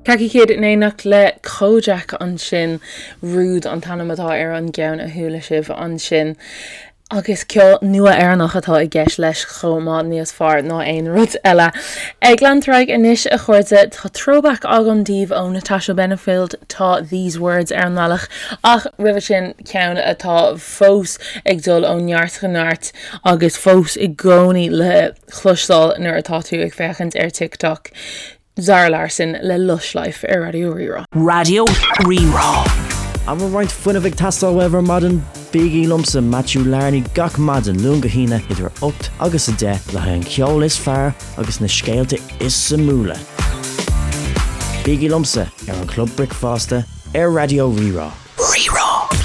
Khaki Kid in éineacht le Kojaque ansin, Rude an t-ainm atá ar an gceann a chuala sibh ansin. Agus ceol nua Éireannach atá i gceist leis chomh maith, níos fearr ná aon rud eile. Ag leanúint ar aghaidh anois a chairde, tá throwback agam daoibh ó Natasha Bedingfield, tá These Words ar an mbealach, ach roimhe sin ceann atá fós ag dul ó neart go neart agus fós i gcónaí le cloisteáil nuair atá tú ag féachaint ar TikTok. Zara Larsson le Lush Life ar Raidió Rí-Rá. Raidió Rí-Rá. An bhfuil roinnt fuinnimh ag teastáil uaibh ar maidin? Bígí liomsa, Matthew Larney, gach maidin, Luan go hAoine, idir 8 agus 10, le haghaidh an cheoil is fearr agus na scéalta is suimiúla. Bígí liomsa ar an Chlub Bricfeasta ar Raidió Rí-Rá. Rí-Rá.